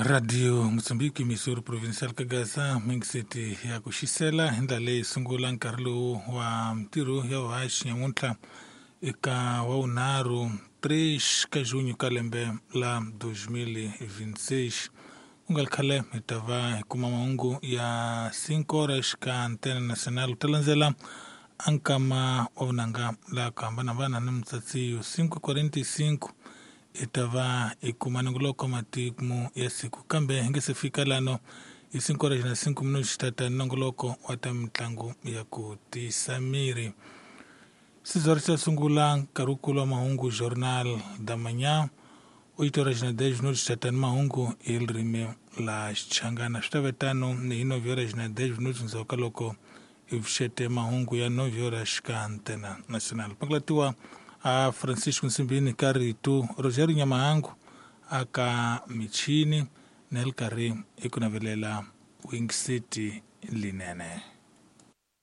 Radio Mozambique, Missouri Provincial Kagasa, Mingiseti ya ku xisela hi ndlela leyi sungula nkarhi lowu wa mintirho ya vuhaxi nyamuntlha eka wa vunharhu 3 ka junho ka lembe la 2026. Ku nga ri khale hi ta va hi kuma mahungu ya 5 horas ka Antena Nacional ku ta landzela a nkama wa vunanga la ku hambanahambana ni mutsatsiyo 5:45 hi ta va hi kuma nongoloko wa matimu ya siku kambe hi nge se fika lano hi 5 horas na 5 minutos tata nongoloko wa ta mitlangu ya ku tiyisa miri. Sizwari xa sungula nkarhi wukulu wa mahungu Jornal da Manhã 8 horas na 10 minutos tata ni mahungu hi ririmi la Xichangana. Swi ta ve tano ni hi 9 horas na 10 minutos ndzhaku ka loko hi pfuxete mahungu ya 9 horas ka Antena Nacional. Pakulatiwa a Francisco Nsimbini ka rito, Rogério Nyamahangu aka michini, ni ri karhi hi ku navelela Wing City linene.